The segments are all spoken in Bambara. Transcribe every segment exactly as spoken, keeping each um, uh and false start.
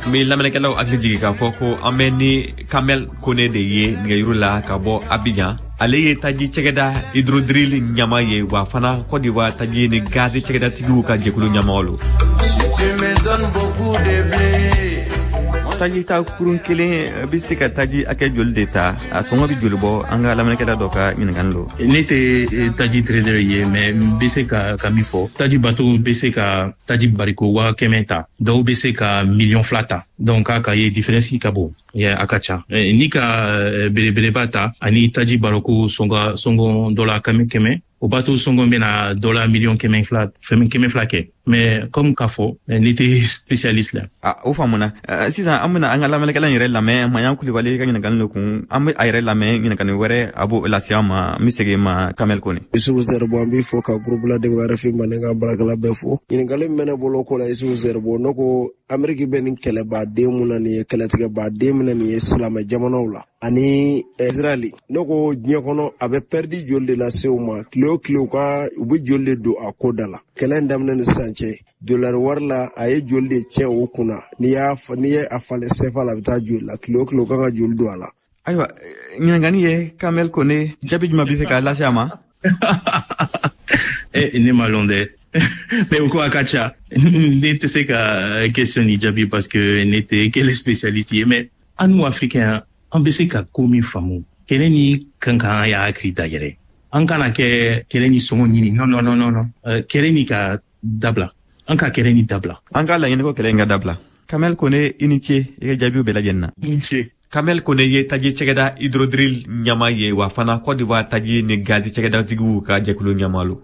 N bɛ lamɛnnikɛlaw hakili jigin k'a fɔ ko an bɛ ni Kamel Kone de ye nɛgɛjuru la ka bɔ Abidjan. Ale ye taji cɛgɛda Hydrodrill ɲɛmaa ye, wa fana Côte d'Ivoire taji ni gazi cɛgɛdatigiw ka jɛkulu ɲɛmɔgɔ lo. Taji ta kurun kelen bɛ se ka taji hakɛ joli de ta? A sɔngɔ bɛ joli bɔ? An ka lamɛnnikɛla dɔ ka ɲininkali lo. Ne tɛ taji trader ye, mais n bɛ se ka ka min fɔ, taji bateau bɛ se ka taji bariko waa kɛmɛ ta, dɔw bɛ se ka miliyɔn fila ta. Donc a ka ye différence ka bon, a ka ca. Ni ka belebeleba ta ani taji bariko sɔngɔ sɔngɔ dɔ kɛmɛ kɛmɛ, o bateau sɔngɔ bɛna dɔ miliyɔn kɛmɛ fila kɛmɛ fila kɛ. Mais comme k'a fɔ, ne tɛ spécialiste la. A o faamuna. Sisan an bɛna an ka lamɛnnikɛla yɛrɛ lamɛn. Mayan Kulibali ka ɲininkali le kun, an bɛ a yɛrɛ lamɛn, ɲininkali wɛrɛ a b'o lase an ma. N bɛ segin ma Kamel Kone. Isufu Zɛribo, an b'i fo ka groupe la denw R F I Mandenkan baarakɛla bɛɛ fo. Ɲininkali min bɛ ne bolo ko la, Isufu Zɛribo, ne ko Ameriki bɛ nin kɛlɛbaden mun na nin ye, kɛlɛtigɛbaden min na nin ye silamɛ jamanaw la ani Israɛli, ne ko diɲɛ kɔnɔ a bɛ pɛridi joli de lase u ma tile o tile? U ka u bɛ joli de don a ko da la? Kɛlɛ in daminɛ ni sisan cɛ, dolari wari la, a ye joli de tiɲɛ o kunna? N'i y'a n'i ye a falen sɛfa la, a bɛ taa joli la? Tile o tile, u kan ka joli don a la? Ayiwa, ɲininkali ye Kamel Kone, jaabi jumɛn b'i fɛ k'a lase a ma? Eh, ne ma lɔn dɛ, mais o ko a ka ca. Ne tɛ se ka question ni jaabi parce que ne tɛ kɛlɛ spécialiste ye. Mais an n'u africain, an bɛ se ka ko min faamu, kɛlɛ ni kan kan y'a hakili dayɛlɛ. An kana kɛ kɛlɛ ni sɔngɔ ɲini. Non, non, non, non, non, kɛlɛ ni ka dabila, an ka kɛlɛ ni dabila. An k'a laɲini ko kɛlɛ in ka dabila. Kamel Kone, i ni ce i ka jaabiw bɛɛ lajɛlen na. I ni ce. Kamel Kone ye taji cɛgɛda Hydrodrill ɲɛmaa ye, wa fana Côte d'Ivoire taji ni gazi cɛgɛdatigiw ka jɛkulu ɲɛmaa lo.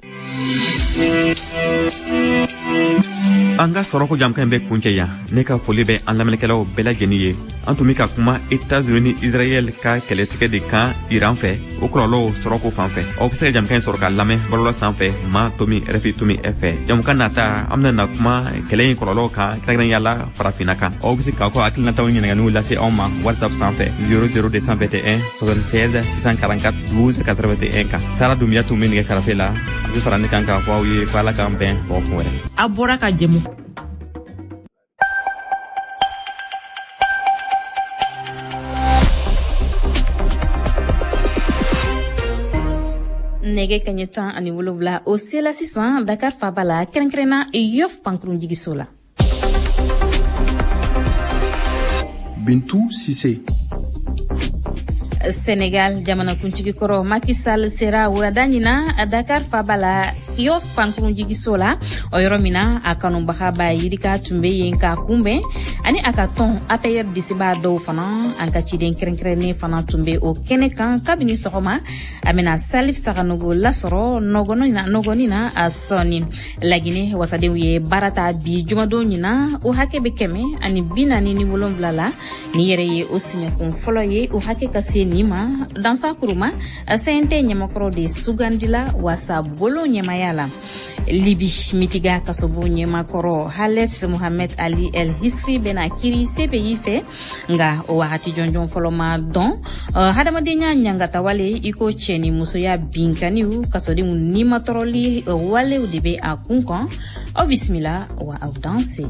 An ka sɔrɔko jamukan in bɛ kuncɛ yan. Ne ka foli bɛ an lamɛnnikɛlaw bɛɛ lajɛlen ye. An tun bɛ ka kuma Etats-Unis ni Israɛl ka kɛlɛtigɛ de kan Iran fɛ, o kɔlɔlɔw sɔrɔko fan fɛ. Aw bɛ se ka jamukan in sɔrɔ ka lamɛn bɔlɔlɔ sanfɛ ma tomi R F I tomi F R. Jamukan nata, an bɛna na kuma kɛlɛ in kɔlɔlɔw kan, kɛrɛnkɛrɛnnenya la farafinna kan. Aw bɛ se k'aw ka hakilinataw ɲininkaliw lase anw ma WhatsApp sanfɛ zéro zéro deux cent vingt et un soixante-seize six cent quarante-quatre douze quatre-vingt-un kan. Sara Dunbiya tun bɛ nɛgɛ karafe la, a bɛ fara ne kan k'a fɔ aw ye ko Ala k'an bɛn dɔgɔkun wɛrɛ. A bɔra ka jɛmu. Nɛgɛ kaɲɛ tan ani wolonwula o sela sisan Dakar faba la, kɛrɛnkɛrɛnna Yoff pankurunjigiso la. Bintu Sise. Senegal jamanakuntigi kɔrɔ Macky Sall sera wulada ɲina Dakar faba la, Yoff pankurunjigiso la, o yɔrɔ min na a kanubaga ba yirika tun bɛ yen k'a kunbɛn, ani a ka tɔn A P R disiba dɔw fana. An ka ciden kɛrɛnkɛrɛnnen fana tun bɛ o kɛnɛ kan kabini sɔgɔma. A bɛna Salif Saganogo lasɔrɔ nɔgɔni na a sɔɔni. Lagine wasadenw ye baara ta bi jumadon ɲina, o hakɛ bɛ kɛmɛ ani bi naani ni wolonwula la. Ni yɛrɛ ye o siɲɛkun fɔlɔ ye o hakɛ ka se nin ma. Dansa Kuruma, C N T ɲɛmakɔrɔ de sugandila wasa bolo ɲɛmaya la. Libi mitiga kasobo ɲɛmakɔrɔ Halet Mohamed Ali El Hisri bɛna kiri C P I fɛ, nga o wagati jɔnjɔn fɔlɔ ma dɔn. uh, hadamadenya ɲangatawale i ko cɛ ni musoya binkaniw, kasodenw nimatɔrɔli uh, walew de bɛ a kun kan. Aw bisimila wa aw danse.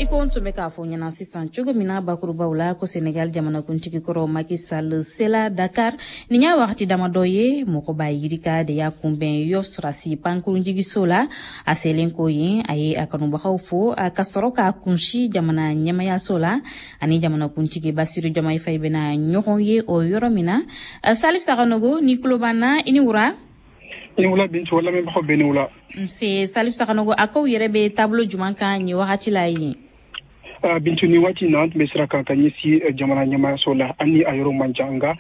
I ko n tun bɛ k'a fɔ ɲɛna sisan cogo min na bakurubaw la, ko Senegal jamanakuntigi kɔrɔ Macky Sall sela Dakar nin y'a wagati damadɔ ye. Mɔgɔba yirika de y'a kunbɛn Yoff sɔrɔdasi pankurunjigiso la. A selen ko yen, a ye a kanubagaw fo, a ka sɔrɔ k'a kunsi jamana ɲɛmayaso la, ani jamanakuntigi Basiru Diomaye Faye bɛna ɲɔgɔn ye o yɔrɔ min na. Salif Saganogo, ni tulo b'an na, i ni wura. I ni wula Bintu, lamɛnbagaw bɛɛ ni wula. Nse Salif Saganogo, a kow yɛrɛ bɛ taabolo juman kan nin wagati la yen? Bintu, ni waati na, an tun bɛ sira kan ka ɲɛsin jamana ɲɛmayaso la. An ni a yɔrɔ man jan, nka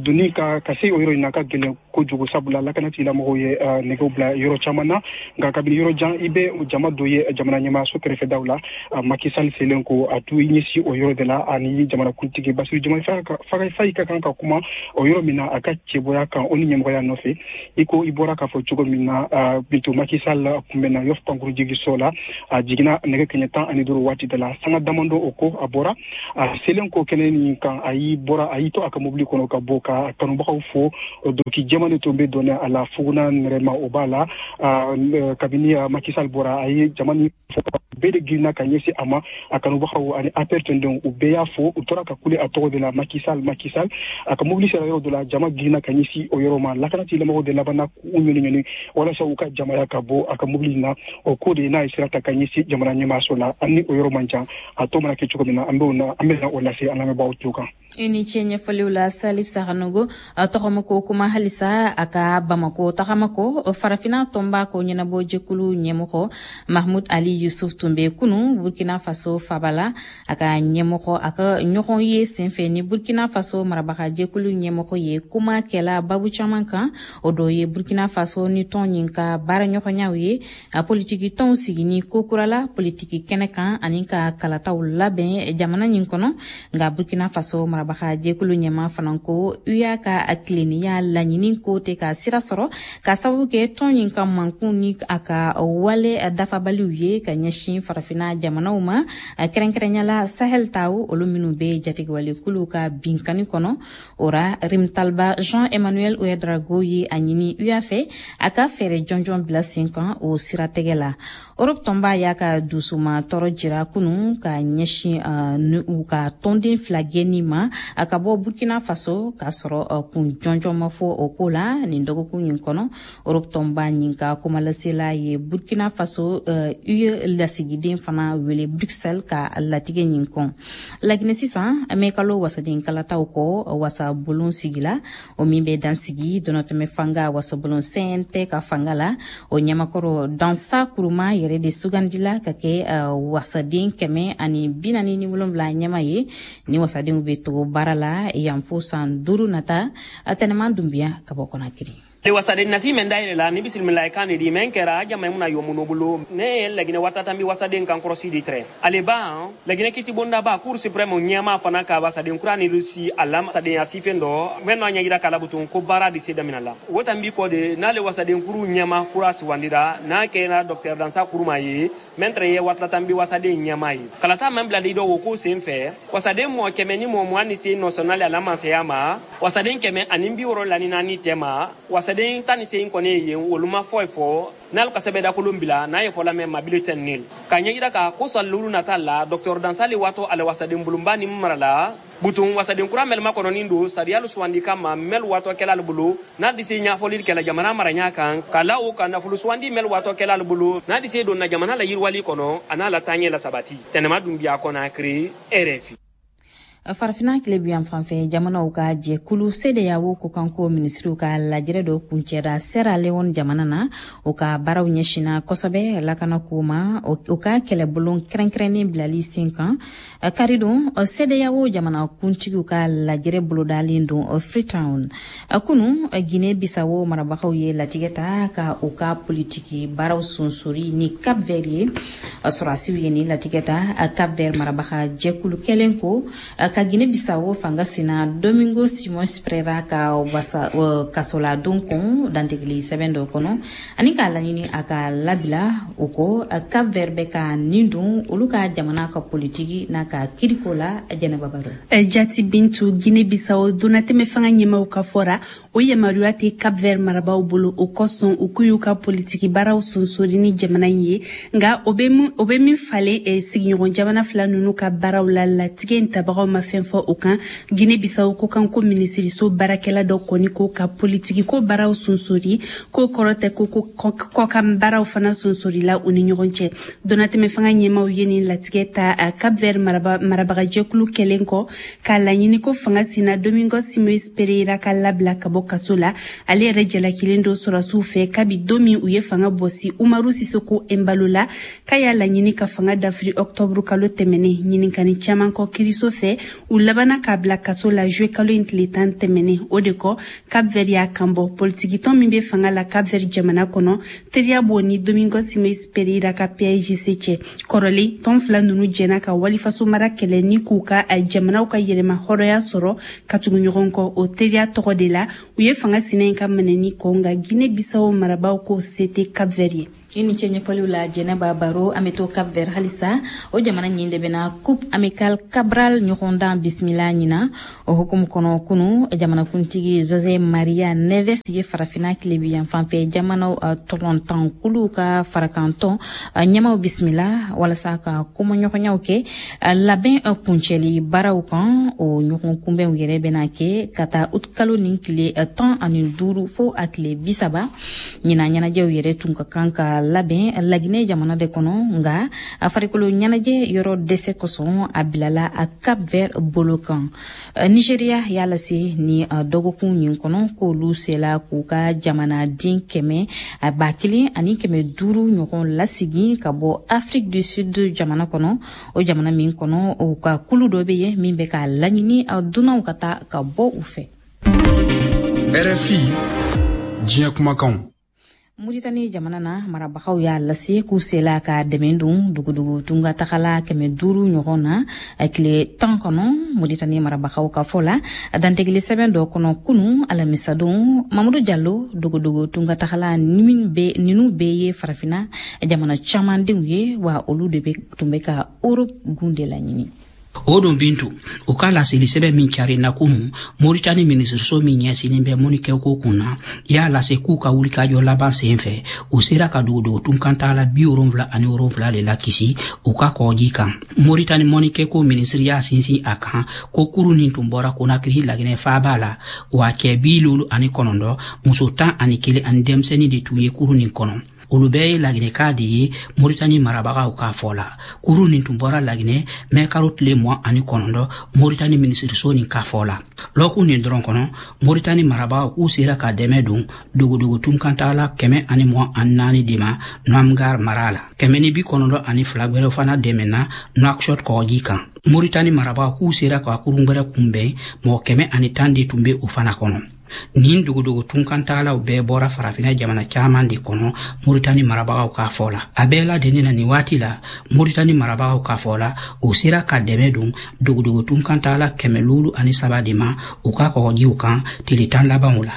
donni ka ka se o yɔrɔ in na ka gɛlɛn kojugu, sabula lakana tigilamɔgɔw ye nɛgɛw bila yɔrɔ caman na. Nka kabini yɔrɔ jan, i bɛ jama dɔ ye jamana ɲɛmayaso kɛrɛfɛdaw la. Macky Sall selen ko a t'u ɲɛsin o yɔrɔ de la, ani jamanakuntigi Basiru Diomaye Faye ka kan ka kuma o yɔrɔ min na a ka cɛbɔya kan, o ni ɲɛmɔgɔya nɔfɛ. I ko i bɔra k'a fɔ cogo min na Bintu, Macky Sall kunbɛnna Yoff pankurunjigiso la. A jiginna nɛgɛ kɛɲɛ tan ani duuru waati de la. Sanga damadɔ o ko, a bɔra. A selen ko kɛnɛ nin kan, a y'i bɔra, a y'i to a ka mobili kɔnɔ ka bɔ ka kanubagaw fo. Doloki jɛman de tun bɛ dɔn a la, fuguna nɛrɛma o b'a la. Kabini Macky Sall bɔra, a ye jama ni fo. Bɛɛ de girinna ka ɲɛsin a ma. A kanubagaw ani A P R tɔndenw, u bɛɛ y'a fo, u tora ka kule a tɔgɔ de la: Macky Sall, Macky Sall. A ka mobili sera yɔrɔ dɔ la, jama girinna ka ɲɛsin o yɔrɔ ma. Lakanatigilamɔgɔw de labanna k'u ɲɔni ɲɔni walasa u ka jamaya ka bɔ a ka mobili na. O ko de n'a ye sira ta ka ɲɛsin jamana ɲɛmaaso la, an ni o yɔrɔ man jan. A tɔ mana kɛ cogo min na, an bɛ na an bɛ na o lase an lamɛnbaaw tulo kan. I ni ce ɲɛfɔliw la, Salif Sakanogo. Tɔgɔma ko kuma halisa a ka Bamako tagama ko Farafina tɔnba ko ɲɛnabɔ jɛkulu ɲɛmɔgɔ Mahmud Ali Yusuf tun bɛ kunu Burkina Faso faba la. A ka ɲɛmɔgɔ a ka ɲɔgɔn ye senfɛ ni Burkina Faso marabaga jɛkulu ɲɛmɔgɔ ye, kuma kɛla babu caman kan. O dɔ ye Burkina Faso ni tɔn ɲin ka baara ɲɔgɔnyaw ye, a politiki tɔnw sigini kokura la politiki kɛnɛ kan, ani ka kalataw labɛn jamana ɲin kɔnɔ. Nka Burkina Faso marabaga jɛkulu ɲɛma fana ko u y'a ka tilennenya laɲini ko tɛ ka sira sɔrɔ, ka sababu kɛ tɔn ɲin ka mankun ni a ka wale dafabaliw ye ka ɲɛsin Farafina jamanaw ma, kɛrɛnkɛrɛnya la Sahel taw, olu minnu bɛ jatigɛwalekuluw ka binkani kɔnɔ. O ra, Rimtalba Jean Emmanuel Ouedraogo ye a ɲini u y'a fɛ a ka fɛɛrɛ jɔnjɔn bila sen kan o siratigɛ la. Europe tɔnba y'a ka dusuma tɔɔrɔ jira kunu ka ɲɛsin uh, u ka tɔnden fila gɛnni ma a ka bɔ Burkina Faso, k'a sɔrɔ uh, kun jɔnjɔn ma fɔ o ko la nin dɔgɔkun nin kɔnɔ. Europe tɔnba ɲin ka kumalasela ye Burkina Faso uh, U E lasigiden fana wele Bruxelles ka latigɛ ɲin kɔn. Laginɛ sisan, mɛ kalo wasaden kalataw kɔ, wasabulon sigila, o min bɛ dansigi dɔnɔtɛmɛ fanga wasabulon C N T ka fanga la. O ɲamakɔrɔ Dansa Kuruma yɛrɛ de sugandila ka kɛ uh, wasaden kɛmɛ ani bi naani ni wolonwula ɲɛma ye. Ni wasadenw bɛ togo baara la yan fo san duuru nata. Tɛnɛman Dunbiya ka bɔ Kɔnakiri. Le wasaden nasi men dayele la ni bisimila kan di men kɛra jama muna yomuno bolo ne ye Laginɛ watatambi wasaden kan kɔrɔsi di trɛ ale ban Laginɛ kiti bonda ba Cour suprême ɲɛma fana ka wasaden kura ni lusi a la wasadenya sifen dɔ mɛn n'a ɲɛjira k'a labutun ko baara di se damina la. O tambi kɔ de n'ale wasaden kuru ɲɛma kura sugandira, n'a kɛra docteur Dansa Kuruma ye, mɛn tɛrɛ ye watalatambi wasaden ɲɛma ye. Kalata mɛn bilali dɔ o ko sen fɛ, wasaden mɔgɔ kɛmɛ ni mɔgɔ mugan ni se nɔsɔnnali a la masaya ma, wasaden kɛmɛ ani bi wɔɔrɔ la ni naani tɛ ma, wasaden tan ni seegin kɔni ye yen, olu ma foyi fɔ n'ale ka sɛbɛn dakolon bila n'a ye fɔla mɛn ma bulletin nul. Ka ɲɛ ka ko sali lulu nata la, docteur Dansali watɔ ale wasaden bulonba ni mara la butun wasaden kura mɛlima kɔnɔnin don sariyalu sugandi kama mɛl watɔ kɛla bolo n'a di se ɲɛfɔli kɛla jamana mara kan ka la o ka nafolo sugandi mɛl watɔ kɛla bolo n'a di se don na jamana la yiriwali kɔnɔ a n'a la taaɲɛ la sabati. Tɛnɛma Dunbiya, Kɔnakiri, R F I. Farafina tilebiyan fanfɛ jamanaw ka jɛkulu CEDEAO kokanko minisiriw ka lajɛrɛ dɔ kuncɛra Sierra Leone jamana na. O ka baaraw ɲɛsina kosɛbɛ lakanako ma, o ka kɛlɛbulon kɛrɛnkɛrɛnnen bilali sen kan. Karidon, CEDEAO jamana kuntigiw ka lajɛrɛ bolodalen don Freetown. Kunu, Guinée Bissau marabagaw ye latigɛ ta ka u ka politiki baaraw sonsori ni Cap Vert ye. Sɔrɔdasiw ye ni latigɛ ta Cap Vert marabaga jɛkulu kɛlen ko ka Guinée Bissau fanga sina Domingo Simões Pereira ka wasa kasoladon kɔn dantigili sɛbɛn dɔ kɔnɔ, ani k'a laɲini a ka labila. O ko Cap Vert bɛ ka nin don olu ka jamana ka politiki n'a ka kiriko la. Jɛnɛba Baro. Jati Bintu, Guinée Bissau donatɛmɛ fanga ɲɛmaw ka fɔra, o yamaruya tɛ Cap Vert marabaw bolo. O kosɔn, u k'u y'u ka politiki baaraw sonsori ni jamana in ye. Nka o bɛ min falen sigiɲɔgɔn jamana fila ninnu ka baaraw la, latigɛ in tabagaw ma fɛn fɔ o kan. Guinée Bissau ko kan ko minisiriso baarakɛla dɔ kɔni ko ka politiki ko baaraw sonsori ko kɔrɔ tɛ ko kɔkan baaraw fana sonsorila u ni ɲɔgɔn cɛ. Donatɛmɛ fanga ɲɛmaw ye nin latigɛ ta Cap Vert marabagajɛkulu kɛlen kɔ k'a laɲini ko fanga sina Domingo Simões Pereira ka labila ka bɔ kaso la. Ale yɛrɛ jalakilen don sɔrɔdasiw fɛ kabi don min u ye fanga bɔsi Umaru Sisoko Embalo la, k'a y'a laɲini ka fanga dafiri octobre kalo tɛmɛnen. Ɲininkani caman kɔ kiriso fɛ, u labanna k'a bila kaso la juillet kalo in tile tan tɛmɛnen. O de kɔ, Cap Vert y'a kanbɔ. Politikitɔn min bɛ fanga la Cap Vert jamana kɔnɔ, teriya b'o ni Domingo Simões Pereira ka P A I J C cɛ. Kɔrɔlen, tɔn fila ninnu jɛna ka walifaso mara kɛlɛ ni k'u ka jamanaw ka yɛlɛma hɔrɔnya sɔrɔ ka tugu ɲɔgɔn kɔ. O teriya tɔgɔ de la, u ye fanga sinɛ in ka minɛni kɔ. Nka Guinée Bissau marabaw ko se tɛ Cap Vert ye. I ni ce ɲɛfɔliw la, Jɛnɛba Baro. An bɛ to Cap Vert halisa. O jamana ɲin de bɛna Coupe Amilcar Cabral ɲɔgɔndan bisimila ɲina. O hukumu kɔnɔ, kunu jamanakuntigi José Maria Neves ye Farafina tilebi yanfan fɛ jamanaw tɔlɔntan kuluw ka farakantɔn ɲɛmaw bisimila walasa ka komaɲɔgɔnyaw kɛ labɛn kuncɛli baaraw kan. O ɲɔgɔn kunbɛnw yɛrɛ bɛna kɛ ka taa utikalo ni tile tan ani duuru fo a tile bi saba. Ɲina ɲɛnajɛw yɛrɛ tun ka kan ka labɛn Laginɛ jamana de kɔnɔ, nka a farikolo ɲɛnajɛ yɔrɔ dɛsɛ kosɔn, a bilala a Cap Vert bolo kan. Nigeria y'a lase ni dɔgɔkun nin kɔnɔ k'olu sela k'u ka jamanaden kɛmɛ ba kelen ani kɛmɛ duuru ɲɔgɔn lasigi ka bɔ Afrique du Sud jamana kɔnɔ, o jamana min kɔnɔ, u ka kulu dɔ bɛ yen min bɛ k'a laɲini dunanw ka taa ka bɔ u fɛ. R F I, diɲɛ kumakanw. Muritani jamana na, marabagaw y'a lase k'u sela ka dɛmɛ don dugudugu tunga tagala kɛmɛ duuru ɲɔgɔn na tile tan kɔnɔ, Muritani marabagaw ka fɔ la dantigɛli sɛbɛn dɔ kɔnɔ kunu alamisadon. Mamadu Jalo, dogodogo tunga tagala ninnu bɛɛ ye Farafina jamana caman denw ye wa, olu de bɛ tun bɛ ka Europe gun de laɲini. O don, Bintu, u ka laseli sɛbɛn min carina kunu, Moritani minisiriso min ɲɛsinin bɛ mɔnikɛko kun na y'a lase k'u ka wulikajɔ laban sen fɛ, u sera ka dogodogo tunkantala bi wolonfila ani wolonfila de la kisi u ka kɔgɔji kan. Moritani mɔnikɛko minisiri y'a sinsin a kan ko kuru nin tun bɔra Konakiri, Laginɛ faaba la, wa cɛ bi lolu ani kɔnɔntɔ, muso tan ani kelen ani denmisɛnnin de tun ye kuru nin kɔnɔ. Olu bɛɛ ye Laginɛka de ye, Moritani marabagaw k'a fɔ la. Kuru nin tun bɔra Laginɛ mɛkaro tile mugan ani kɔnɔntɔ, Moritani minisiriso nin k'a fɔ la. Lɔkun nin dɔrɔn kɔnɔ, Moritani marabagaw k'u sera ka dɛmɛ don dogodogo tunkantala kɛmɛ ani mugan ani naani de ma Nouakchott mara la. Kɛmɛ ni bi kɔnɔntɔn ani fila gwɛrɛw fana dɛmɛna Nouakchott kɔgɔji kan. Moritani marabagaw k'u sera ka kurun gwɛrɛ kunbɛn, mɔgɔ kɛmɛ ani tan de tun be o fana kɔnɔ. Nin dogodogo tunkantagalaw bɛɛ bɔra Farafinna jamana caaman de kɔnɔ, Moritani marabagaw k'a fɔ la. A bɛɛ ladɛnni na nin waati la, Moritani marabagaw k'a fɔ la, o sera ka dɛmɛ don dogodogo tunkantagala kɛmɛ loolu ani saba de ma u ka kɔgɔjiw kan tile tan labanw la.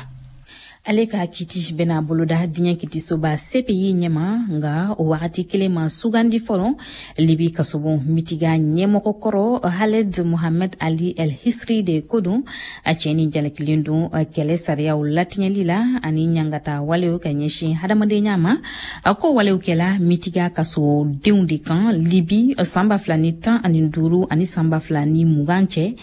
Ale ka kiti bɛna boloda diɲɛ kitisoba C P I ɲɛma, nga o wagati kelen ma sugandi fɔlɔ. Libi kasobon Mitiga ɲɛmɔgɔ kɔrɔ Khaled Mohamed Ali El Hisri de ko don. A cɛ ni jalakilen don kɛlɛ sariyaw latiɲɛli la ani ɲangata walew ka ɲɛsin hadamadenya ma. A ko walew kɛla Mitiga kasodenw de kan Libi san ba fila ni tan ani duuru ani san ba fila ni mugan cɛ.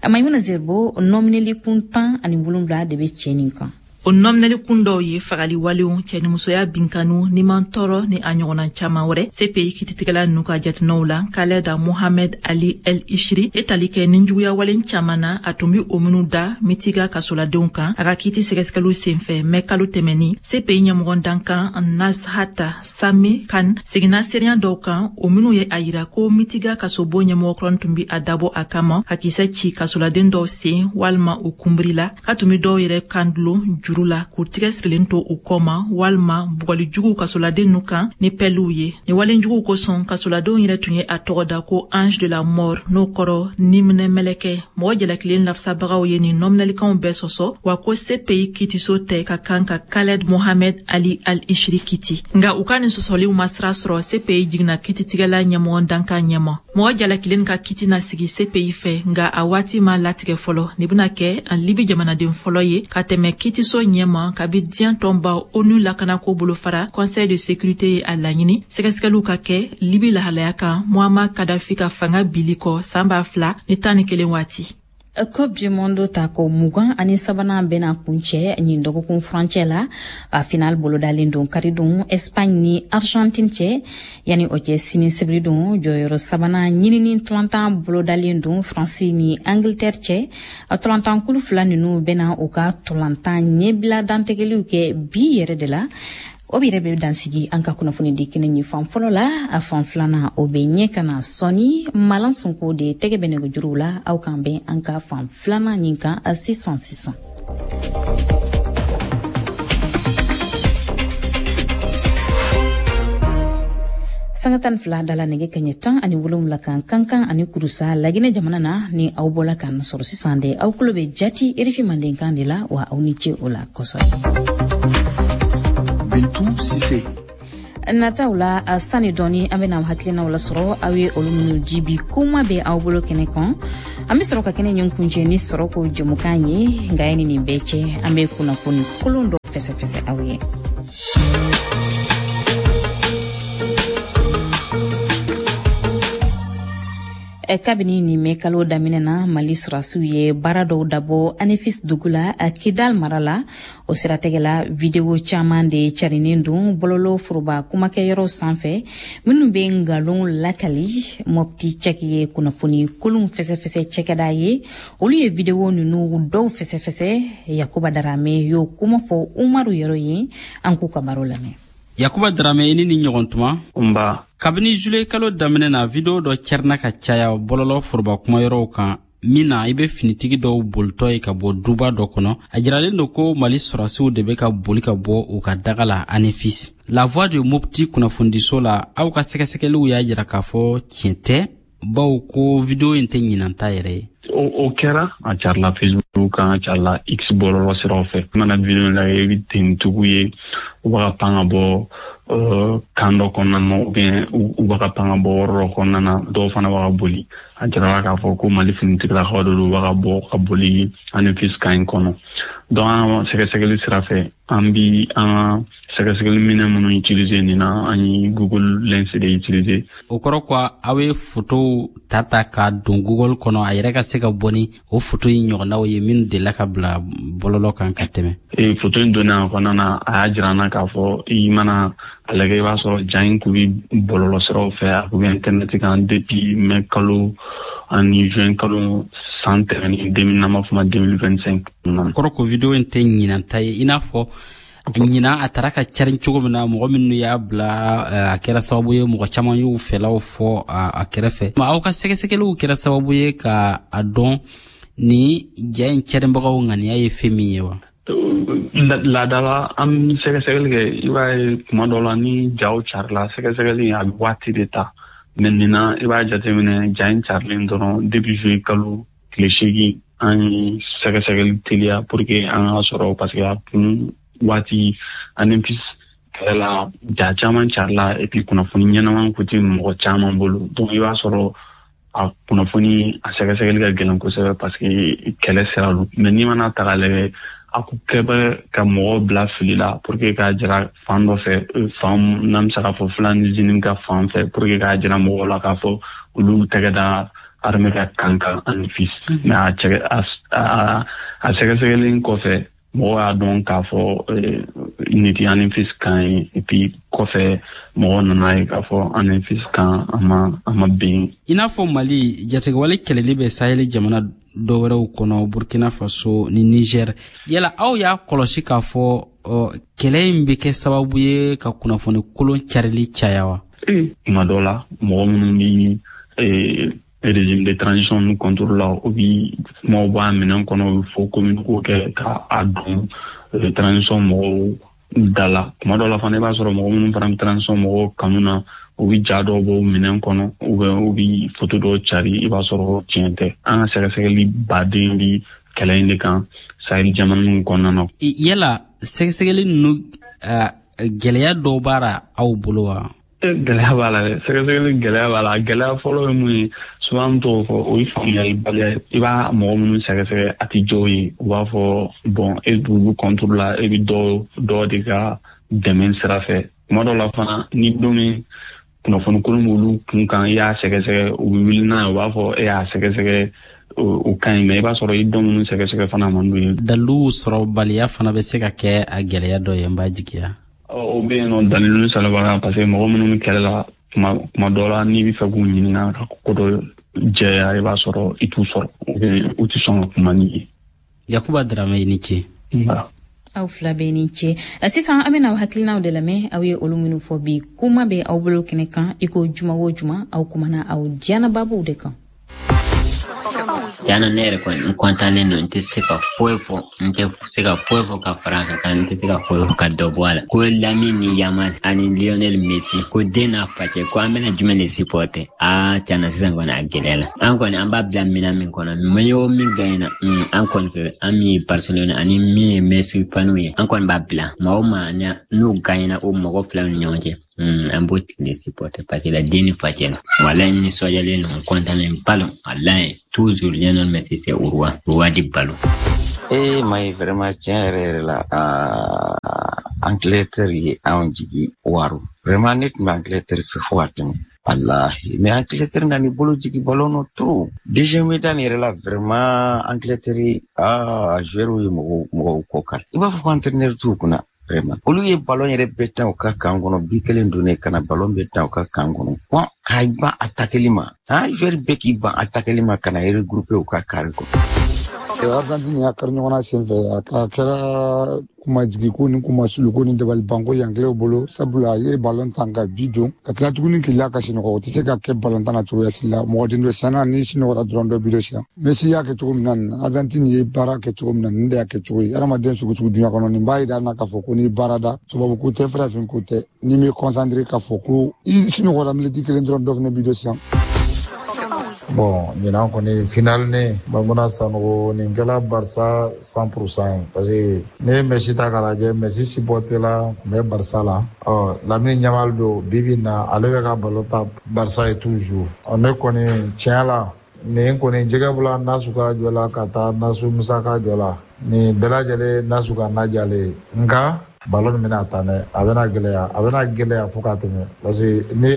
Maimuna Zerbo, nɔminɛli kun tan ani wolonwula de bɛ cɛ nin kan. O nɔminɛli kun dɔw ye fagali walew, cɛnimusoya binkaniw, niman tɔɔrɔ ni a ɲɔgɔnna caaman wɛrɛ. C P I kititigɛla nunu ka jateminɛw la, Khaleda Mohamed Ali El Ishiri ye tali kɛ ninjuguya walen caaman na, a tun be o minw da Mitiga kasoladenw kan. A ka kiti sɛgɛsɛgɛliw senfɛ mɛ kalo tɛmɛni, C P I ɲɛmɔgɔ dankan Nazhata Same Kan seginna seereya dɔw kan, o minw ye a yira ko Mitiga kasobon ɲɛmɔgɔkɔrɔn tun be a dabɔ a kama ka kisɛ ci kasoladen dɔw sen walima u kunbiri la, ka tun be dɔw yɛrɛ kan dulon juru la k'u tigɛ sirilen to u kɔ ma, walima bugɔli juguw kasoladen nu kan ni pɛliw ye. Ni walenjuguw kosɔn, kasoladenw yɛrɛ tun ye a tɔgɔ da ko ange de la mort, n'o kɔrɔ niminɛ mɛlɛkɛ. Mɔgɔ jalakilen lafasabagaw ye nin nɔminɛlikanw bɛɛ sɔsɔ, wa ko C P I kitiso tɛ ka kan ka Khaled Mohamed Ali Al Ishiri kiti. Nga u ka nin sɔsɔliw ma sira sɔrɔ C P I jiginna kititigɛla ɲɛmɔgɔ dankan ɲɛma. Mɔgɔ jalakilen ka kiti na sigi C P I fɛ, nga a waati ma latigɛ fɔlɔ. Nin bena kɛ an Libi jamanaden fɔlɔ ye ka tɛmɛ kitiso ɲɛma kabi diɲɛ tɔnba ONU lakanako bolofara Conseil de sécurité ye a laɲini sɛgɛsɛgɛliw ka kɛ Libi lahalaya kan Muammar Kadafi ka fanga bili kɔ san ba fila ni tan ni kelen waati. Coupe du monde tako mugan ani sabanan bɛna kuncɛ nin dɔgɔkun furancɛ la. A final bolodalen don karidon Espagne ni Argentine cɛ. Yani o cɛ, sini sibiridon, jɔyɔrɔ sabanan ɲinini tɔlantan bolodalen don Faransi ni Angleterre cɛ. Tɔlantan kulu fila ninnu bɛna u ka tɔlantan ɲɛbila dantigɛliw kɛ bi yɛrɛ de la. O yɛrɛ bɛ dansigi an ka kunnafoni di kɛnɛ ɲi fan fɔlɔ la. A fan filanan, o bɛ ɲɛ ka na sɔɔni. Malan Sonko de tɛgɛ bɛ nɛgɛjuruw la. Aw kan bɛn an ka fan filanan nin kan sisan sisan. Sanga tan fila dala nɛgɛ kaɲɛ tan ani wolonwula kan Kankan ani Kurusa, Laginɛ jamana na. Ni aw bɔla k'an sɔrɔ sisan de, aw kulo bɛ jati R F I Mandenkan de la wa. Aw ni ce o la kosɛbɛ. Bintu Sise. Nataw la, sani dɔɔni an bɛna hakilinaw lasɔrɔ aw ye olu minnu jibi kuma bɛ aw bolo kɛnɛ kan. An bɛ sɔrɔ ka kɛnɛ ɲin kuncɛ ni sɔrɔ ko jɛmukan ye, nka ye ni nin bɛɛ cɛ an bɛ kunnafoni kolon dɔ fɛsɛfɛsɛ aw ye. Kabini nin mɛ kalo daminɛ na, Mali sɔrɔdasiw ye baara dɔw dabɔ Anefis dugu la, Kidal mara la. O siratigɛ la, video caman de carinen don bɔlɔlɔ foroba kumakɛyɔrɔ sanfɛ minnu bɛ nkalon lakali. Mopti Cɛki ye kunnafoni kolon fɛsɛfɛsɛ cɛkɛda ye, olu ye video ninnu dɔw fɛsɛfɛsɛ. Yakuba Darame y'o kuma fɔ Umaru Yɛrɛ ye, an k'u ka baro lamɛn. Yakuba Darame, i ni ni ɲɔgɔn tuma. Nba. Kabini juillet kalo daminɛ na, video dɔ cɛrina ka caya bɔlɔlɔ foroba kumayɔrɔw kan min na i bɛ finitigi dɔw bolitɔ ye ka bɔ duba dɔ kɔnɔ. A jiralen don ko Mali sɔrɔdasiw de bɛ ka boli ka bɔ u ka daga la Anefis. La Voix de Mopti kunnafonidiso la, aw ka sɛgɛsɛgɛliw y'a jira k'a fɔ tiɲɛ tɛ, bawo ko video in tɛ ɲinan ta yɛrɛ ye. O kɛra, a carila Facebook kan, a carila X bɔlɔlɔ siraw fɛ. I mana video lajɛ, i bɛ tenitigiw ye u b'a ka pan ka bɔ kan dɔ kɔnɔna na, ou bien u b'a ka pan ka bɔ yɔrɔ dɔ kɔnɔna na, dɔw fana b'a ka boli. A jirala k'a fɔ ko Mali finitigilakaw de don, u b'a ka bɔ ka boli Anefis kan in kɔnɔ. Donc an sɛgɛsɛgɛli sira fɛ, an bi an ka sɛgɛsɛgɛli minɛn minnu utiliser nin na, an ye Google Lens de utiliser. O kɔrɔ ko aw ye fotow ta ta ka don Google kɔnɔ, a yɛrɛ ka se ka bɔ ni o foto in ɲɔgɔnnaw ye minnu delila ka bila bɔlɔlɔ kan ka tɛmɛ. Ee foto in donnen a kɔnɔna na, a y'a jira an na k'a fɔ i mana a lajɛ, i b'a sɔrɔ ja in kun bi bɔlɔlɔ siraw fɛ, a kun bɛ internet kan depuis mai kalo ani juin kalo san tɛmɛnen, n'an b'a fɔ ma deux mille vingt-cinq. Kɔrɔ ko video in tɛ ɲinan ta ye, i n'a fɔ ɲinan a taara ka carin cogo min na, mɔgɔ minnu y'a bila a kɛra sababu ye mɔgɔ caman y'u fɛlaw fɔ a kɛrɛfɛ. Aw ka sɛgɛsɛgɛliw kɛra sababu ye ka a dɔn ni ja in carinbagaw ŋaniya ye fɛn min ye wa? Laadala an bɛ sɛgɛsɛgɛli kɛ, i b'a ye kuma dɔ la ni jaw carila, sɛgɛsɛgɛli a bɛ waati de ta. Mais nin na, i b'a jateminɛ ja in carilen dɔrɔn depuis juillet kalo tile seegin, an ye sɛgɛsɛgɛli teliya pour que an ka sɔrɔ, parce que a kun waati Anefis kɛlɛ la, ja caman carila, et puis kunnafoni ɲɛnama kun tɛ mɔgɔ caman bolo. Donc i b'a sɔrɔ a kunnafoni a sɛgɛsɛgɛli ka gɛlɛn kosɛbɛ parce que kɛlɛ sira don. Mais n'i mana ta k'a lajɛ, a kun kɛ bɛ ka mɔgɔw bila fili la pour que k'a jira fan dɔ fɛ, fan n'an bɛ se k'a fɔ Fulani Zini ka fan fɛ, pour que k'a jira mɔgɔw la k'a fɔ olu tɛgɛ da armée ka kan kan Anefis. Mais a a a sɛgɛsɛgɛli kɔfɛ, mɔgɔw y'a dɔn k'a fɔ nin tɛ Anefis kan ye. Et puis kɔfɛ mɔgɔw nana ye k'a fɔ Anefis kan a ma a ma bin. I n'a fɔ Mali jatigɛwale kɛlɛli bɛ Sahel jamana dɔ wɛrɛw kɔnɔ, Burkina Faso ni Niger. Yala aw y'a kɔlɔsi k'a fɔ kɛlɛ in bɛ kɛ sababu ye ka kunnafoni kolon carili caya wa? Kuma dɔ la, mɔgɔ minnu bi régime de transition nu contre la, u bi kumaw bɔ a minɛn kɔnɔ, u bɛ fɔ communiqué kɛ ka a don transition mɔgɔw da la. Kuma dɔ la fana, i b'a sɔrɔ mɔgɔ minnu fana bɛ transition mɔgɔw kanu na, u bɛ ja dɔw bɔ minɛn kɔnɔ, u bɛ u bɛ foto dɔw cari, i b'a sɔrɔ tiɲɛ tɛ. An ka sɛgɛsɛgɛli baden bi kɛlɛ in de kan Sahel jamana ninnu kɔnɔna na. Yala sɛgɛsɛgɛli ninnu gɛlɛya dɔw b'a la aw bolo wa? Gɛlɛya b'a la dɛ, sɛgɛsɛgɛli gɛlɛya b'a la. Gɛlɛya fɔlɔ ye mun ye, souvent an t'o fɔ, o ye faamuyalibaliya ye. I b'a mɔgɔ minnu sɛgɛsɛgɛ, a tɛ jɔw ye, u b'a fɔ bon e b'olu contre la, e bɛ dɔ dɔ de ka dɛmɛ sira fɛ. Kuma dɔ la fana, ni don min kunnafoni kolon b'olu kun kan, i y'a sɛgɛsɛgɛ, u bɛ wuli n'a ye, u b'a fɔ e y'a sɛgɛsɛgɛ o ka ɲi, mais i b'a sɔrɔ i dɔ minnu sɛgɛsɛgɛ fana man d'u ye. Daliluw sɔrɔbaliya fana bɛ se ka kɛ a gɛlɛya dɔ ye, n b'a jigiya. O bɛ yen nɔ, dalilu sɔrɔbaliya, parce que mɔgɔ minnu bɛ kɛlɛ la, kuma kuma dɔ la n'i bɛ fɛ k'u ɲininka ka ko dɔ jɛya, i b'a sɔrɔ i t'u sɔrɔ, u tɛ sɔn ka kuma n'i ye. Yakuba Darame, i ni ce. Aw fila bɛ ni ce. Sisan an bɛna aw hakilinaw de lamɛn, aw ye olu minnu fɔ bi kuma bɛ aw bolo kɛnɛ kan, i ko juma o juma aw kumana aw diyana babuw de kan. Tiɲɛna ne yɛrɛ kɔni n kɔntannen don, n tɛ se ka foyi fɔ, n tɛ se ka foyi fɔ ka fara a kan, n tɛ se ka foyi fɔ ka dɔ bɔ a la. Ko Lamine ni Yamal ani Lionel Messi, ko den n'a fa cɛ, ko an bɛna jumɛn de supporter? Aa tiɲɛna sisan kɔni a gɛlɛyara. An kɔni an b'a bila minɛn min kɔnɔ, min o min gagnera, an kɔni fɛ, an min ye Barcelone ani min ye Messi faniw ye, an kɔni b'a bila maa o maa n'u gagnera o mɔgɔ fila ni ɲɔgɔn cɛ. Mm, an b'o tigi de supporter parce que la den ni facɛ la. Walayi n nisɔndiyalen don, n content ballon. Walayi toujours Lionel Messi c'est au roi, roi du ballon. Eh mais vraiment tiɲɛ yɛrɛ yɛrɛ la, uh, Angleterre ye anw jigi waru. Vraiment ne tun bɛ Angleterre fɛ fo ka tɛmɛ. Wallahi, mais Angleterre nani bolo jigi ballon no trop. Deuxième mi-temps yɛrɛ la, vraiment Angleterre, ah, joueur ye mɔgɔw mɔgɔw kɔ kari. I b'a fɔ ko entraîneur t'u kunna. Vraiment. Olu ye ballon yɛrɛ bɛɛ tan u ka kan kɔnɔ, bi kelen donnen ka na ballon bɛɛ tan u ka kan kɔnɔ. Bon, k'a ban attaquer ma. Han, joueur bɛɛ k'i ban attaquer ma ka na regrouper u ka carré kɔnɔ. Argentine y'a kari ɲɔgɔn na senfɛ, a kɛra kumajigiko ni kumasuluko ni dabalibanko yankɛlɛw bolo, sabula a ye balon tan ka bi don ka tila tuguni k'i la ka sinɔgɔ. O tɛ se ka kɛ balon tan na cogoya si la. Mɔgɔ den dɔ siyanna ni sinɔgɔra dɔrɔn dɔ bi dɔ siyan. Messi y'a kɛ cogo min na nin, Argentine ye baara kɛ cogo min na nin de y'a kɛ cogo ye. Hadamaden sugu sugu dunuya kɔnɔ, nin b'a yira an na k'a fɔ ko n'i baara da, tubabu ko tɛ, farafin ko tɛ, n'i m'i concentré k'a fɔ ko i sinɔgɔra miniti kelen dɔrɔn, dɔ fana bi dɔ siyan. Bon, ɲinan kɔni final ne Bamuna Sanogo nin kɛla Barça cent pour cent ye, parce que ne ye Messi ta k'a lajɛ, Messi supporter la tun bɛ Barça la. Ɔ Lamine Yamal don bi bi in na, ale bɛ ka ballon ta Barça ye toujours. Ɔ ne kɔni tiɲɛ la, nin kɔni jɛgɛ bɔla Nasu ka jɔ la ka taa Nasu Musa ka jɔ la, nin bɛɛ lajɛlen Nasu ka na jalen, nka ballon bɛna taa dɛ, a bɛna gɛlɛya, a bɛna gɛlɛya fo ka tɛmɛ, parce que ni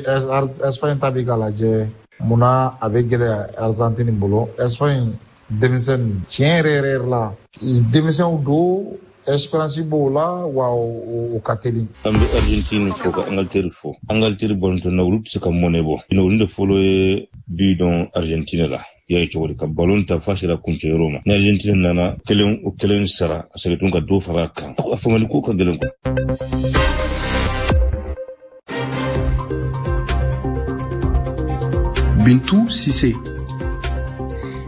Espagne ta bi k'a lajɛ, munna a bɛ gɛlɛya Argentine bolo? Espagne denmisɛnnin tiɲɛ yɛrɛ yɛrɛ yɛrɛ la, denmisɛnw don, espérance b'o la, wa o ka teli. An bɛ Argentine fo ka Angleterre fo. Angleterre bɔlɔntɔ na, olu tɛ se ka mɔnɛ bɔ. Olu de fɔlɔ ye bi dɔn Argentine la. I y'a ye cogo di ka balon ta f'a sera kuncɛyɔrɔ ma. Ni Argentine nana kelen o kelen sara, ka segin tun ka dɔ fara a kan. A faamali ko ka gɛlɛn kuwa. Bintu Sise.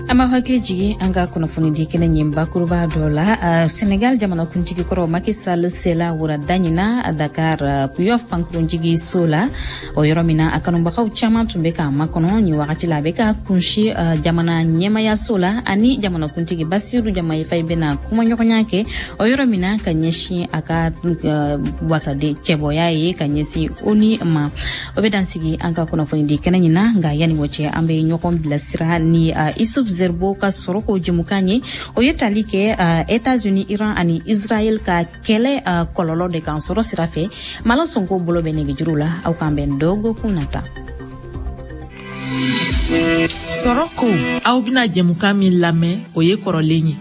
An b'aw hakili jigin an ka kunnafonidi kɛnɛ ɲin bakuruba dɔ la. uh, Senegal jamanakuntigi kɔrɔ Macky Sall sela wurada ɲina Dakar uh, Yoff pankurunjigi so la, o yɔrɔ min na a kanubagaw caman tun bɛ k'a makɔnɔ. Nin wagati la a bɛ ka kunsi uh, jamana ɲɛmayaso la, ani jamanakuntigi Bassirou Diomaye Faye bɛna kumaɲɔgɔnya kɛ o yɔrɔ min na ka ɲɛsin a ka uh, wasaden cɛbɔya ye ka ɲɛsin O N U ma. O bɛ dan sigi an ka kunnafonidi kɛnɛ ɲina, nka yanni o cɛ, an bɛ ɲɔgɔn bilasira ni uh, Issouf Zerbo ka sɔrɔ k'o jɛmukan ye. O ye tali kɛ uh, États-Unis, Iran ani Israël ka kɛlɛ uh, kɔlɔlɔ de kan sɔrɔ sira fɛ. Malan Sonko bolo bɛ nɛgɛjuru la. Aw k'an bɛn dɔgɔkun nata. Sɔrɔ ko, aw bɛna jɛmukan min lamɛn, o ye kɔrɔlen ye.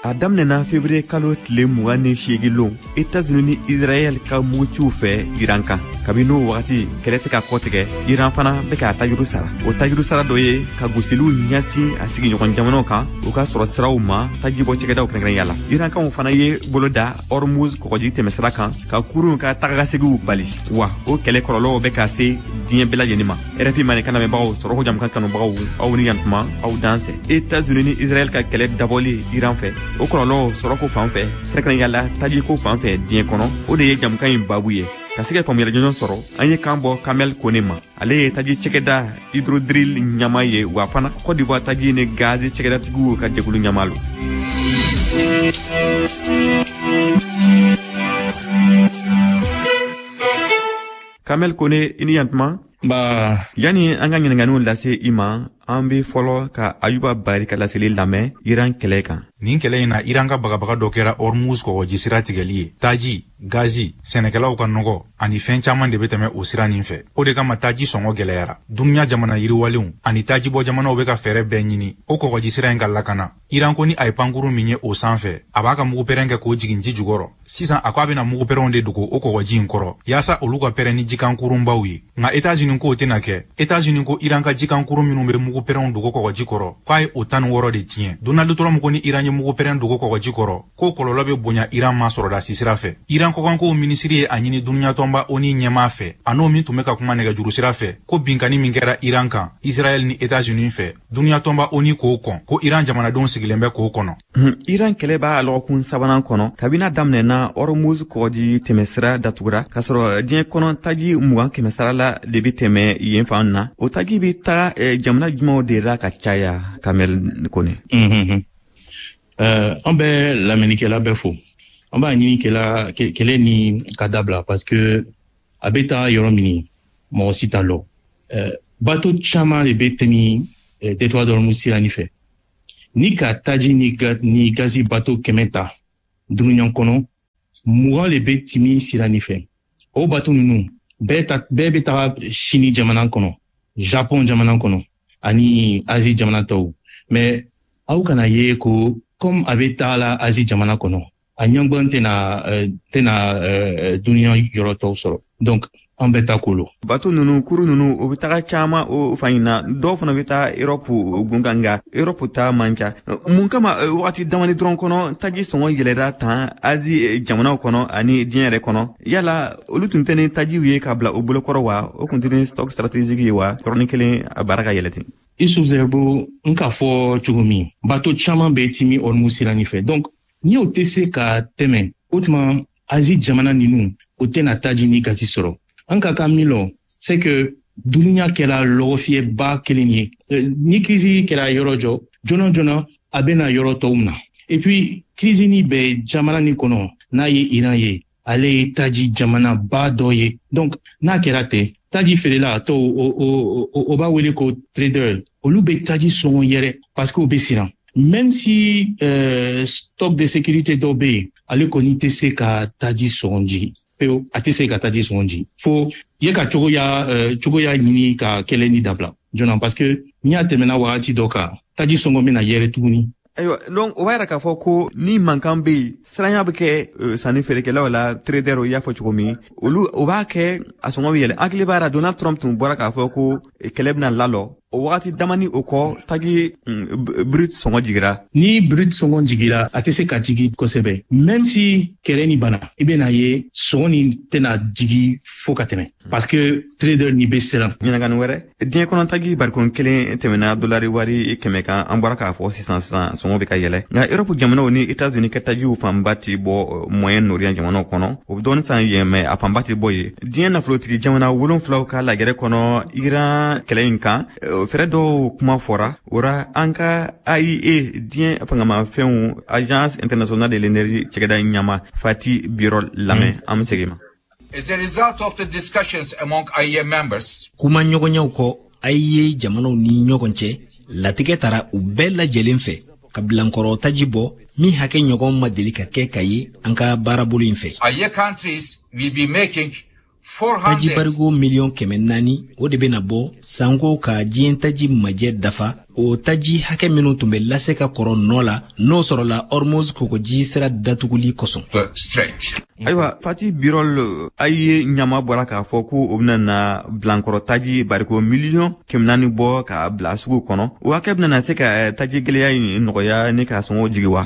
A daminɛna février kalo tile mugan ni seegin lon, États-Unis ni Israël ka muguciw fɛ Iran kan. Kabini n'o wagati, kɛlɛ tɛ ka kɔtigɛ. Iran fana bɛ k'a tajuru sara. O tajuru sara dɔ ye ka gosiliw ɲɛsin a sigiɲɔgɔn jamanaw kan, u ka sɔrɔ siraw ma, tajibɔ cɛgɛdaw kɛrɛnkɛrɛnya la. Irankanw fana ye bolo da Hormuz kɔgɔji tɛmɛsira kan ka kurun ka tagagasegiw bali. Wa o kɛlɛ kɔlɔlɔw bɛ ka se diɲɛ bɛɛ lajɛlen ma. R F I Maninka lamɛnbagaw, sɔrɔko jamukan kanubagaw, aw ni yantuma, aw dansɛ. États-Unis ni Israël ka kɛlɛ dabɔli Iran fɛ, o kɔlɔlɔw sɔrɔko fan fɛ, kɛrɛnkɛrɛnya la tajiko fan fɛ diɲɛ kɔnɔ, o de ye jamukan in babu ye. Ka se ka faamuyali jɔnjɔn sɔrɔ, an ye kan bɔ Kamel Kone ma. Ale ye taji cɛgɛda Hydrodrill ɲama ye, wa fana Côte d'Ivoire taji ni gazi cɛgɛdatigiw ka jɛkulu ɲama lo. Kamel Kone, i ni yantuma. Ba yani an ka ɲininganiw lase i ma, an be fɔlɔ ka Ayuba Bari ka laseli lamɛn Iran kɛlɛ kan. Nin kɛlɛ in na, Iran ka bagabaga dɔ kɛra Hormuz kɔgɔji sira tigɛli ye. Taji, gazi, sɛnɛkɛlaw ka nɔgɔ ani fɛn caaman de be tɛmɛ o sira nin fɛ. O de kama taji sɔngɔ gɛlɛyara. Duniɲa jamana yiriwalenw ani tajibɔ jamanaw be ka fɛɛrɛ bɛɛ ɲini o kɔgɔji sira in ka lakana. Iran ko ni a ye pankuru min ye o sanfɛ, a b'a ka mugupɛrɛn kɛ k'o jigin ji jukɔrɔ. Sisan a ko a bena mugupɛrɛnw de dogo o kɔgɔji in kɔrɔ yaasa olu ka pɛrɛn ni jikankurunbaw ye. Nka États-Unis k'o tɛna kɛ. États-Unis ko Iran ka jikankurun minnu be mugupɛrɛnw dogo kɔgɔji kɔrɔ, k'a ye o tan ni wɔɔrɔ de tiɲɛ. Donald Trump ko ni Iran ye mugupɛrɛn dogo kɔgɔji kɔrɔ, k'o kɔlɔlɔ bɛ bonya Iran ma sɔrɔdasi sira fɛ. Iran kɔkankow minisiri ye a ɲini dunuɲatɔnba O N U ɲɛmaa fɛ, a n'o min tun bɛ ka kuma nɛgɛjuru sira fɛ, ko binkani min kɛra Iran kan Israɛl ni États-Unis fɛ, dunuɲatɔnba O N U k'o kɔn, ko Iran jamanadenw sigilen bɛ k'o kɔnɔ. Iran kɛlɛ b'a lɔgɔkun sabanan kɔnɔ kabini a daminɛna Hormuz kɔgɔji tɛmɛsira datugura, k'a sɔrɔ diɲɛ kɔnɔ taji mugan kɛmɛ sara la de bɛ tɛmɛ yen fan na. O taji bɛ taga eh, jamana jumɛnw de la ka caya, Kamel Kone? mm -hmm. uh, an bɛ lamɛnnikɛla bɛɛ fo. An b'a ɲini kɛla kɛlɛ ni ka dabila, parce que A bɛ taa yɔrɔ min, mɔgɔ si t'a lɔn. Euh, bateau caman de bɛ tɛmɛ euh, détroit d'Ormuz sira nin fɛ. Ni ka taji ni, ga, ni gazi bateau kɛmɛ ta dunuya kɔnɔ, mugan le bɛ tɛmɛ sira nin fɛ. O bateau ninnu bɛɛ ta, bɛɛ bɛ taga Chine jamana kɔnɔ, Japon jamana kɔnɔ ani Asie jamana tɔw. Mais aw kana ye ko comme a bɛ taga la Asie jamana kɔnɔ, a ɲɛgbɔn tɛna euh, tɛna euh, dunuya yɔrɔ tɔw sɔrɔ. Donc an bɛ taa kolo. Bateau ninnu, kuru ninnu, o bɛ taga caman o fan in na, dɔw fana bɛ taa Europe gun kan, nka Europe ta man ca. Mun kama wagati damani dɔrɔn kɔnɔ taji sɔngɔ yɛlɛra tan Asie jamanaw kɔnɔ ani diɲɛ yɛrɛ kɔnɔ? Yala olu tun tɛ ni tajiw ye ka bila u bolokɔrɔ wa? O tun tɛ ni stock stratégique ye wa? Yɔrɔnin kelen a baara ka yɛlɛ ten. Issouf Zerbo, n k'a fɔ cogo min, bateau caman bɛ timi Ormuz sira nin fɛ. Donc ni o tɛ se ka tɛmɛ, o tuma Asie jamana ninnu o tɛna taji ni gazi sɔrɔ. An ka kan min lɔn, c'est que dunuya kɛra lɔgɔfiyɛba kelen ye. Ni crise kɛra yɔrɔ jɔ, joona joona a bɛna yɔrɔ tɔw na. Et puis crise ni bɛ jamana nin kɔnɔ, n'a ye Iran ye, ale ye taji jamana ba dɔ ye. Donc n'a kɛra ten, taji feerela tɔw, o o o o b'a wele ko trader, olu bɛ taji sɔngɔ yɛrɛ parce que o bɛ siran. Même si euh, stock de sécurité dɔ bɛ yen, ale kɔni tɛ se ka taji sɔngɔ jigin pewu, a tɛ se ka taji sɔngɔ jigin fo ye ka cogoya euh, cogoya ɲini ka kɛlɛ ni dabila joona, parce que n'i y'a tɛmɛna wagati dɔ kan, taji sɔngɔ bɛna yɛrɛ tuguni. Ayiwa, donc o b'a yira k'a fɔ ko ni mankan bɛ yen, siranya bɛ kɛ uh, sanni feerekɛlaw la, trader, i y'a fɔ cogo min, olu o b'a kɛ a sɔngɔ bɛ yɛlɛ. Hakili b'a la, Donald Trump tun bɔra k'a fɔ ko kɛlɛ bɛna lalɔ. O wagati damani o kɔ, taji brut sɔngɔ jigira. Ni brut sɔngɔ jigira, a tɛ se ka jigi kosɛbɛ. Même si kɛlɛ ni bana, i bɛna ye sɔngɔ ni tɛna jigi fo ka tɛmɛ, parce que trader ni bɛ siran. Ɲininkali wɛrɛ: diɲɛ kɔnɔ taji barikon kelen tɛmɛna dolari wari kɛmɛ kan. An bɔra k'a fɔ sisan sisan sɔngɔ bɛ ka yɛlɛ, nka Europe jamanaw ni États-Unis ka tajiw fanba ti bɔ Moyen-Orient jamanaw kɔnɔ. O bɛ dɔɔni san yen, mais a fanba ti bɔ yen. Diɲɛ nafolotigi jamana wolonfilaw ka lajɛrɛ kɔnɔ Iran kɛlɛ in kan, fɛɛrɛ dɔw kuma fɔra o ra. An ka A I E, diɲɛ fangamafɛnw, Agence internationale de l'énergie cɛgɛda ɲama Fatih Birol lamɛn, an bɛ segin ma. As a result of the discussions among I E A members, kuma ɲɔgɔnyaw kɔ A I E jamanaw ni ɲɔgɔn cɛ, latigɛ tara u bɛɛ lajɛlen fɛ ka bilankɔrɔ taji bɔ min hakɛ ɲɔgɔn ma deli ka kɛ ka ye an ka baarabolo in fɛ. I E A countries will be making taji barigo miliyɔn kɛmɛ naani, o de bɛna bɔ sanko ka diɲɛ taji majɛ dafa, o taji hakɛ minnu tun bɛ lase ka kɔrɔ nɔ la, n'o sɔrɔla Ormuz kɔgɔji sira datuguli kosɔn. Ayiwa, Fatih Birol, A I E ɲama bɔra k'a fɔ ko o bɛna na bilankɔrɔ taji bariko miliyɔn kɛmɛ naani bɔ k'a bila sugu kɔnɔ. O hakɛ bɛna na se ka taji gɛlɛya in nɔgɔya ni k'a sɔngɔ jigi wa?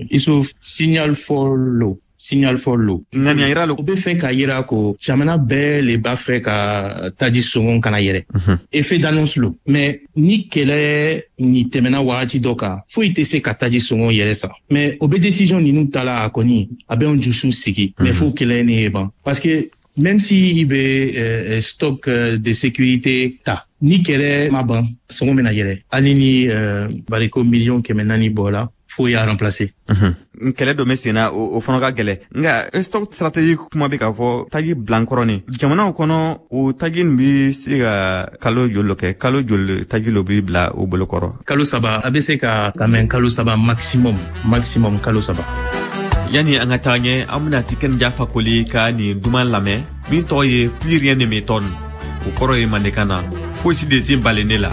Issouf, signal fɔlɔ signal fɔlɔ. Ŋaniya yira lo. O bɛ fɛ ka yira ko jamana bɛɛ le b'a fɛ ka taji sɔngɔ kana yɛrɛ. Effet d'annonce lo. Mais ni kɛlɛ ni tɛmɛna wagati dɔ kan, foyi tɛ se ka taji sɔngɔ yɛrɛ sa. Mais o bɛ décision ninnu ta la, a kɔni a bɛ an dusu sigi. Mais fo kɛlɛ ni ye ban. Parce que même si i bɛ euh, stock de sécurité ta, ni kɛlɛ ma ban, sɔngɔ bɛna yɛlɛ. Hali ni euh, bariko miliyɔn kɛmɛ naani bɔra, fo y'a remplacer. Kɛlɛ dɔ bɛ sen na, o fana ka gɛlɛ, nka stock stratégique kuma bɛ k'a fɔ taji bilankɔrɔ ni jamanaw kɔnɔ, o taji nin bɛ se ka kalo joli kɛ? Kalo joli taji lo bɛ bila o bolo kɔrɔ? Kalo saba, a bɛ se ka ka mɛn kalo saba, maximum maximum kalo saba. Yani an ka taga ɲɛ, an bɛna Tiken Jah Fakoly ka nin duman lamɛn min tɔgɔ ye "Plus rien ne m'étonne". O kɔrɔ ye mandekan na fosi de ti bali ne la.